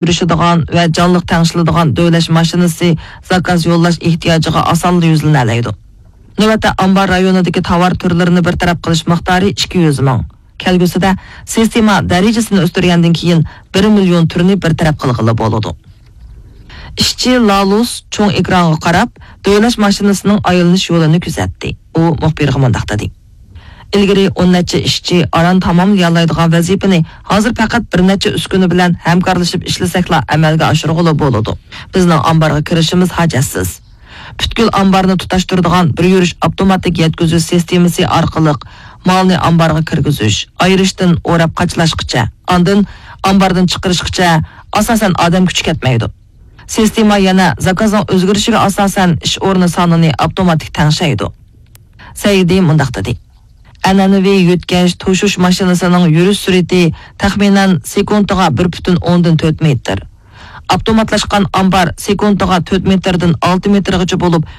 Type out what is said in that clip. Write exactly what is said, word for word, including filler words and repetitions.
يۈرۈشىدىغان ۋە جانلىق تەڭشىلىدىغان دۆۋىلەش ماشىنىسى زاكاز يوللاش ئېھتىياجىغا ئاسانلا يۈزلىنەلەيدۇ. نۆۋەتتە ئامبار رايونىدىكى تاۋار تۈرلىرىنى بىر تەرەپ قىلىش مىقدارى ئىككى يۈز مىڭ. كەلگۈسىدە سىستېما دەرىجىسىنى ئۆستۈرگەندىن كېيىن بىر مىليون تۈرنى بىر تەرەپ قىلغىلى بولىدۇ. ئىشچى لالۇس چوڭ ئېكرانغا قاراپ، دۆۋىلەش ماشىنىسىنىڭ ئايلىنىش يولىنى كۆزەتتى. ئۇ مۇخبىرغا مۇنداق دېدى: «ئىلگىرى ئون نەچچە ئىشچى ئاران تاماملىيالايدىغان ۋەزىپىنى ھازىر پەقەت بىر نەچچە ئۈسكۈنە بىلەن ھەمكارلىشىپ ئىشلىسەكلا ئەمەلگە ئاشۇرغىلى بولىدۇ. بىزنىڭ ئامبارغا كىرىشىمىز ھاجەتسىز. پۈتكۈل ئامبارنى تۇتاشتۇرىدىغان بىر يۈرۈش ئاپتوماتىك يەتكۈزۈش سىستېمىسى ئارقىلىق مالنى ئامبارغا كىرگۈزۈش، ئايرىشتىن ئوراپ قاچىلاشقىچە، ئاندىن ئامباردىن چىقىرىشقىچە ئاساسەن ئادەم كۈچى كەتمەيدۇ. سىستېما يەنە زاكازنىڭ ئۆزگىرىشىگە ئاساسەن ئىش ئورنى سانىنى ئاپتوماتىك تەڭشەيدۇ.» سەئىدى مۇنداق دېدى: «ئەنئەنىۋى يۆتكەش توشۇش ماشىنىسىنىڭ يۈرۈش سۈرئىتى تەخمىنەن سېكۇنتىغا بىر پۈتۈن ئوندىن تۆت مېتىر. ئاپتوماتلاشقان ئامبار سېكۇنتىغا تۆت مېتىردىن ئالتە مېتىرغىچە بولۇپ،